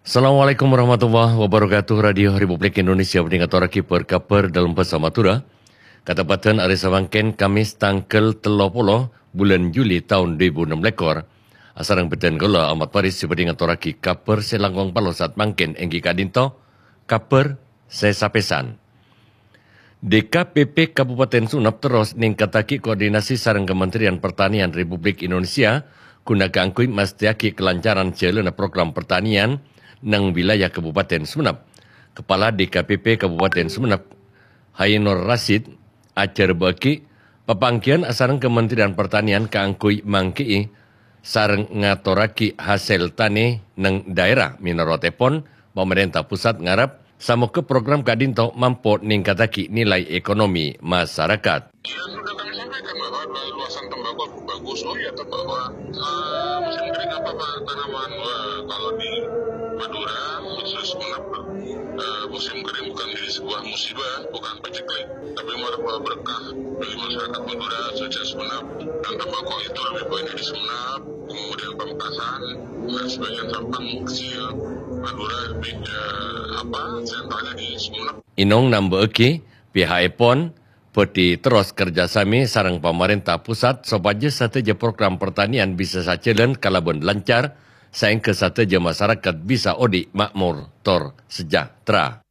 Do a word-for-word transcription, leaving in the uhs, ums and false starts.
Assalamualaikum warahmatullahi wabarakatuh. Radio Republik Indonesia bhâdhi ngatorraghi bâr-kabhâr dâlem bhâsa Madhurâ. Kateppadhân arè samangkèn, Kamis, tangghâl tello polo bulân Juli taon dhu èbu ennem lèkor. Asareng bhâdhân kaulâ, Ahmad Faris, sè bhâdhi ngatorraghi kabhâr sè langkong palosat mangkèn, èngghi ka'dinto kabhâr sè sapèsan. D K P P Kabupaten Sumenep terros nèngkattaghi koordinasi sareng Kementerian Pertanian Republik Indonesia ghuna kaangghuy mastèyaghi kalancaran jhâlânna program pertanian neng wilayah Kabupaten Sumenep. Kepala D K P P Kabupaten Sumenep, Hainur Rasid, ajhârbâ'âghi papanggiyân asareng Kementerian Pertanian kaangghuy mangghi'i sareng ngatorraghi hasèl tanè neng dhaèra. Mènorotèpon, pamarènta pusat ngarep samogha program ka'dinto mampo nèngkattaghi nilai ekonomi masarakat. Ya, sudah kami sampaikan bahwa luasan tembakau bagus. Oh ya, bahwa eh, musim kering apa, Pak, tanaman? Wah, kalau di Madura, khusus Sumenep, eh, musim kering bukan jadi sebuah musibah, bukan paceklik, tapi malah berkah bagi masyarakat Madura, khususnya Sumenep. Dan tembakau itu lebih banyak di Sumenep, kemudian Pamekasan, dan sebagian Sampang kecil. Madura lebih, eh, apa, sentralnya di Sumenep. Inong namba'aghi, piha'èpon bhâdhi terros kerjasama sareng pamarènta pusat sopajâ sadhâjâ program pertanian bisa sajhâlân kalabân lancar, saèngghâ sadhâjâ masarakat bisa odi' ma'mor tor sejahtera.